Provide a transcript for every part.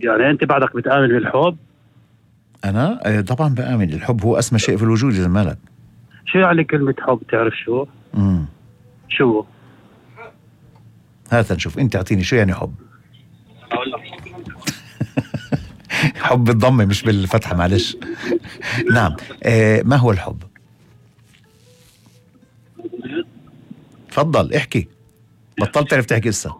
يعني أنت بعدك بتآمن بالحب؟ أنا طبعا بآمن. الحب هو أسمى شيء في الوجود إذا مالك. شو يعني كلمة حب؟ تعرف شو؟ شو؟ هات نشوف، أنت أعطيني شو يعني حب. حب بالضمة مش بالفتحة، معلش. نعم. ما هو الحب؟ تفضل احكي، بطلت تعرف تحكي لسه.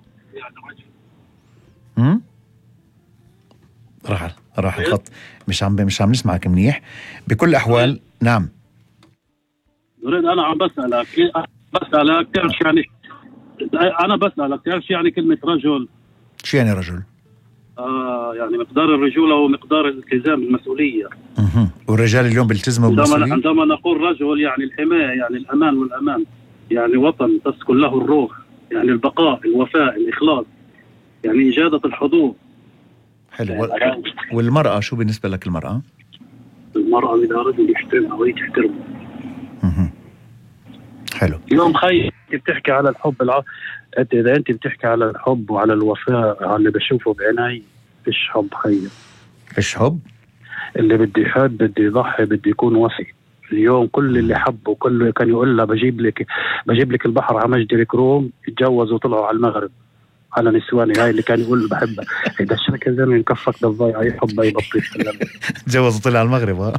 راح الخط، مش عم نسمعك منيح. بكل الأحوال نعم. أريد أنا عم بسألك تعرف شو يعني؟ أنا بسألك تعرف شو يعني كلمة رجل؟ شو يعني رجل؟ يعني مقدار الرجولة ومقدار الالتزام بالمسؤولية. والرجال اليوم بيلتزموا بالمسؤولية. عندما نقول رجل يعني الحماية، يعني الأمان والأمان، يعني وطن تسكن له الروح، يعني البقاء، الوفاء، الإخلاص، يعني إجادة الحضور. حلو. والمرأة شو بالنسبة لك المرأة؟ المرأة إذا رجل يحترمها وهي تحترمه. حلو. اليوم خي انت بتحكي على الحب إذا انت بتحكي على الحب وعلى الوفاء، على اللي بشوفه بعيني، فيش حب خي. فيش حب؟ اللي بدي يحب بدي يضحي بدي يكون وفي. اليوم كل اللي حبه كله كان يقول له بجيب لك البحر على مجد الكروم، اتجوزوا وطلعوا على المغرب على نسواني. هاي اللي كان يقول بحبها. إذا الشركة زمان كفك بالضيعة يحب أي بطيخ. تجوز وطلع على المغرب.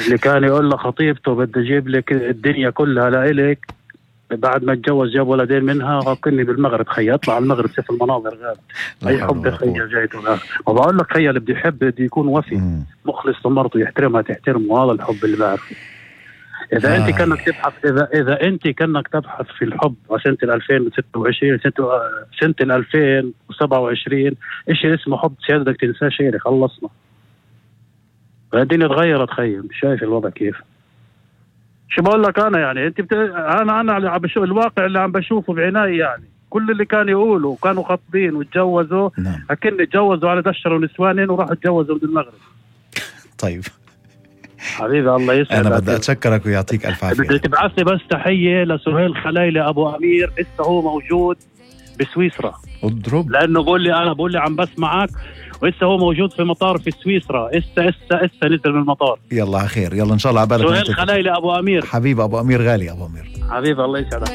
اللي كان يقول له خطيبته بدي أجيب لك الدنيا كلها لإلك، بعد ما اتجوز جاب ولدين منها غاقني بالمغرب. خي يطلع على المغرب شوف المناظر غاب. أي حب خي جايته. وبقول لك خي اللي بدي يحب بدي يكون وفي مخلص لمرته، يحترمها تحترمه. هذا الحب اللي بعرفه. إذا أنت كأنك تبحث إذا أنت كأنك تبحث في الحب سنة 2026 سنة 2027 إيش اسمه حب سيادة بدك تنساه شيء. خلصنا الدنيا تغيرت خيم. شايف الوضع كيف؟ شو بقول لك أنا يعني أنت أنا عم بشوف الواقع اللي عم بشوفه بعيني. يعني كل اللي كانوا يقولوا كانوا خاطبين وتجوزوا. أكن اتجوزوا على دشروا نسوانين وراحوا تجوزوا من المغرب. طيب حبيبي الله يسعدك. أنا بدي أتشكرك ويعطيك ألف عافية. بدي تبعث لي بس تحية لسهيل خليلي أبو أمير، لسه هو موجود بسويسرا. اضرب. لأنه بقول لي عم بسمعك، ولسه هو موجود في مطار في سويسرا. إسا نزل من المطار. يلا خير، يلا إن شاء الله عبالك. سهيل خليلي أبو أمير. حبيب أبو أمير غالي. أبو أمير حبيبي الله يسعدك.